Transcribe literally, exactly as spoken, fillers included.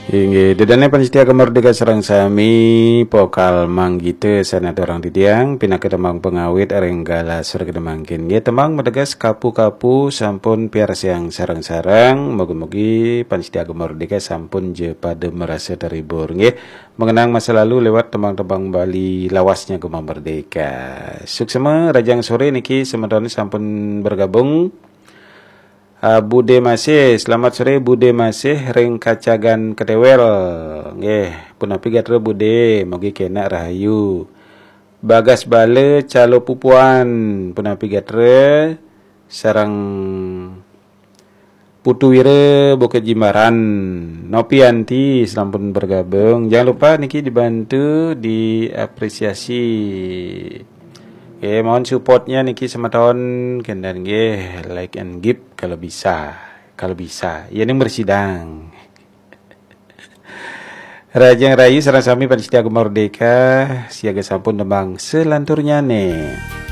Inggih, ida dané pamiarsa Gema Merdeka sareng sami, pokal manggita sané aturang titiang, pinaka tembang pangawit ring galah sore mangkin. Nggih, tembang mateges kapu-kapu sampun piarsayang sareng-sareng. Mugi-mugi pamiarsa Gema Merdeka sampun ja pada marasa terhibur. Nggih, mengenang masa lalu lewat tembang-tembang Bali lawasnya Gema Merdeka. Suksma, rahajeng sore niki semeton sampun bergabung. Ah, Bude Masih, selamat sore Bude Masih ring Kacagan Ketewel. Nggih, punapi gatra Bude, mugi kenak rahayu. Bagas Bala Calo Pupuan, punapi gatra, sareng Putu Wira Bukit Jimbaran. Nopianti sampun bergabung. Jangan lupa niki dibantu, diapresiasi. Oke, mohon supportnya niki semeton, kénten nggih, like and give kalau bisa. Kalau bisa, ya ning bersidang. Rahajeng rahayu sareng sami pamiarsa Gema Merdeka, siaga sampun tembang selanturnya nih.